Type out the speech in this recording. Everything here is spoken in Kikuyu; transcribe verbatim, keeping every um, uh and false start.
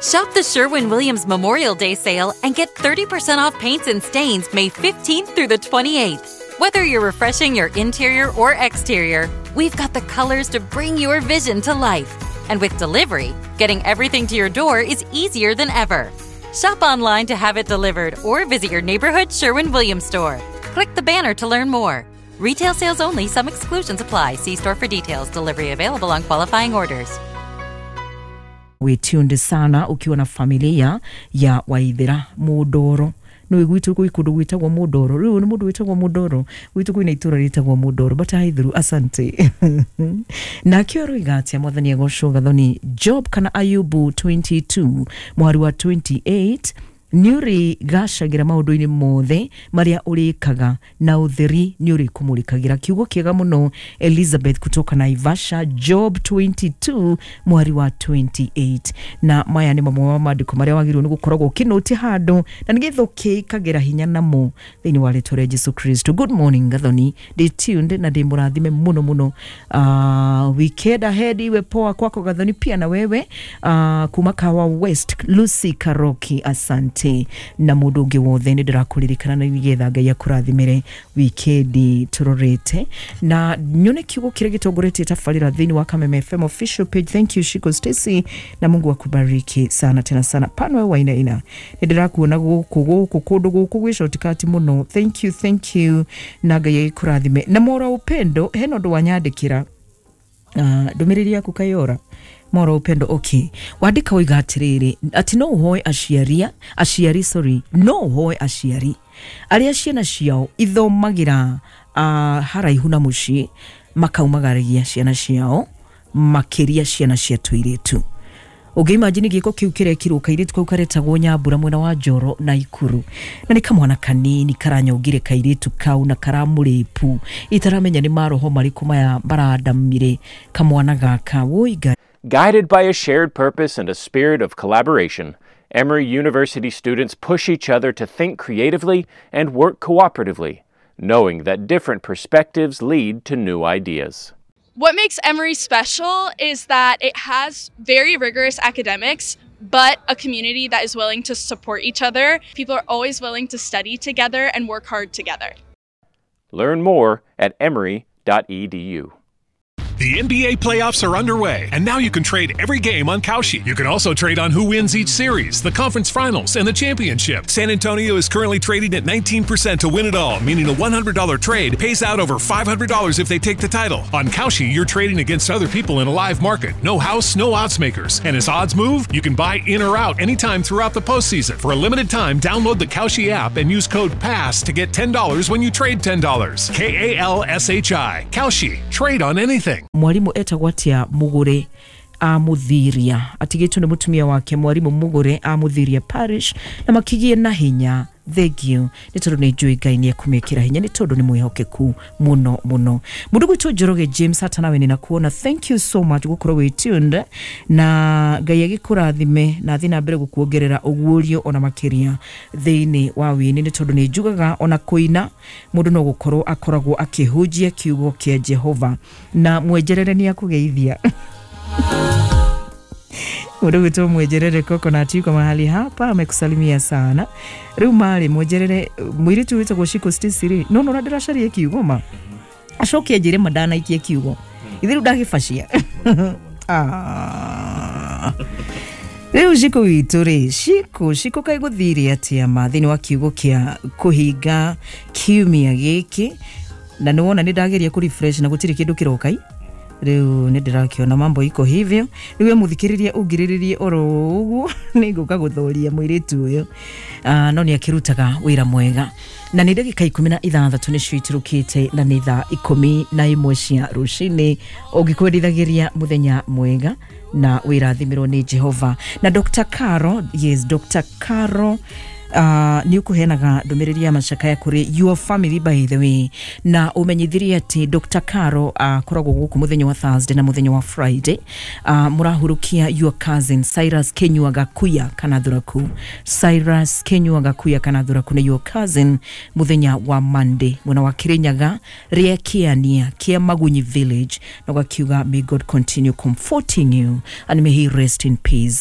Shop the Sherwin Williams Memorial Day sale and get thirty percent off paints and stains May fifteenth through the twenty-eighth. Whether you're refreshing your interior or exterior, we've got the colors to bring your vision to life. And with delivery, getting everything to your door is easier than ever. Shop online to have it delivered or visit your neighborhood Sherwin-Williams store. Click the banner to learn more. Retail sales only. Some exclusions apply. See store for details. Delivery available on qualifying orders. We tuned sana ukiwa na familia ya Waithira Mudoro. No gwitũ gwĩ kũndũ gwĩtagwo Mudoro. Rĩu nĩ mũndũ wĩtagwo Mudoro. Gwitũ kwĩna itũra rĩtagwo Mudoro. But Aithuru, asante. Nakĩo aroiga atĩa? Mwathani agocwo. Gathoni, Job kana Ayubu twenty-two mwari wa twenty-eight, nĩ ũrĩgacagĩra maũndũ-inĩ mothe marĩa ũrĩkaga na ũtheri nĩ ũrĩkũmũrĩkagĩra. Kiugo kĩega mũno, Elizabeth kutoka Naivasha. Job twenty-two mwari wa twenty-eight. Na maya nĩ mamwe ma maandĩko marĩa wagĩrĩirwo nĩ gũkoragwo ũkĩnũti handũ na nĩgetha ũkĩĩkagĩra hinya namo thĩinĩ wa rĩtwa rĩa Jesu Kristo. Good morning Gathoni, ndĩ tuned na ndĩ mũrathime mũno mũno. uh, weekend ahead iwe poa kwako Gathoni, pia na wewe. uh, kuma Kawa West, Lucy Karoki, asante. Na mundu ungi wothe nĩ ndĩrakũririkana na nĩgetha Ngai akũrathimĩre wikendi tũrorete na nyone kiugo kĩrĩa gĩtongoretie tabarĩra thĩinĩ wa Kameme F M official page. Thank you Shiko Stacy, na Mungu akubariki sana tena sana. Pano waina ina nĩ ndĩrakuona gũkũ gũkũ kũndũ gũkũ gwĩ shortcut mũno. Thank you, thank you, na Ngai akũrathime. Na Mora Upendo, hena ũndũ wanyandĩkĩra ndũmĩrĩri uh, yaku kayora Mora Upendo. Okay, wandĩka ũiga atĩrĩrĩ atĩ no ũhoe aciari aciari sorry no ũhoe aciari arĩa ciana ciao ithomagĩra uh, haraihu na mũciĩ makaumagaragia ciana ciao makĩria ciana cia tũirĩtu. Ũngĩimagine gĩko kĩu kĩrekirwo kairĩtu kau karetagwo Nyambura mwena wa Njoro na Ikuru, na nĩ kamwana kanini karanyongire kairĩtu kau na karamũrĩpu itaramenya nĩ maroho marĩkũ maya marandamire kamwana gaka woiga. Guided by a shared purpose and a spirit of collaboration, Emory University students push each other to think creatively and work cooperatively, knowing that different perspectives lead to new ideas. What makes Emory special is that it has very rigorous academics, but a community that is willing to support each other. People are always willing to study together and work hard together. Learn more at emory dot e d u. The N B A playoffs are underway, and now you can trade every game on Kalshi. You can also trade on who wins each series, the conference finals, and the championship. San Antonio is currently trading at nineteen percent to win it all, meaning a one hundred dollar trade pays out over five hundred dollars if they take the title. On Kalshi, you're trading against other people in a live market. No house, no odds makers. And as odds move, you can buy in or out anytime throughout the postseason. For a limited time, download the Kalshi app and use code PASS to get ten dollars when you trade ten dollars. K A L S H I. Kalshi. Trade on anything. Mwarimu etagwo atia Mugure amuthiria atigĩtwo nĩ mũtumia wake mwarimu Mugure amuthiria parish na makigie na hinya. Thank you nĩ tondũ nĩ njũĩ Ngai nĩ ekũmĩkĩra hinya nĩ tondũ nĩ mwĩhokeku mũno mũno. Mũndũ gwitũ Njoroge James, hata nawe nĩnakuona. Thank you so much gũkorwo wĩ tuned na Ngai agĩkũrathime na athiĩ na mbere gũkuongerera ũguũrio ona makĩria thĩinĩ wa wĩini nĩ tondũ nĩ njugaga ona kũina mũndũ no gũkorwo akoragwo akĩhunjia kiugo kĩa Jehova na mwenjerere nĩ akũgeithia. Mũndũ gwitũ Mwenjerere Coconut yuko mahali hapa amekusalimia sana. Rĩu marĩ Mwenjerere mũirĩtu wĩtagwo Shiko Stacy rĩ no no ndĩracaria kiugo ma acoke anjĩre ma ndanaikie kiugo ithe rĩu ndagĩbacia. Ah, rĩu Shiko witũ rĩ, Shiko Shiko kaĩ gũthire atĩa ma thĩinĩ wa kiugo kĩa kũhinga kiumia gĩkĩ na nĩwona nĩ ndageria kũ refresh na gũtirĩ kĩndũ kĩroka rĩu nĩ ndĩrakĩona mambo iko hivyo. Rĩu we mũthikĩrĩrie ũngirĩrĩrie oro ũguo nĩ ngũka gũthoria mũirĩtu ũyũ uh, no nĩ akĩrutaga wĩra mwega. Na nĩ ndagĩka ikũmi na ithathatũ nĩcio itirũkĩte na nĩ thaa ikũmi na ĩmwe cia rũcinĩ. Ũngĩkwendithagĩria mũthenya mwega na wĩrathimĩrwo nĩ Jehova. Na Doctor Caro, yes, Doctor Caro Uh, nĩ ũkũheanaga ndũmĩrĩri ya macakaya kũrĩ your family by the way, na ũmenyithirie atĩ Doctor Caro akoragwo uh, gũkũ mũthenya wa Thursday na mũthenya wa Friday. uh, Mũrahurukia your cousin Cyrus Kenyua Gakuya kana Thuraku. Cyrus Kenyua Gakuya kana Thuraku nĩ your cousin mũthenya wa Monday mwena wa Kirinyaga rĩa Kĩania kĩa Magunyi village, na ũgakiuga may God continue comforting you and may he rest in peace.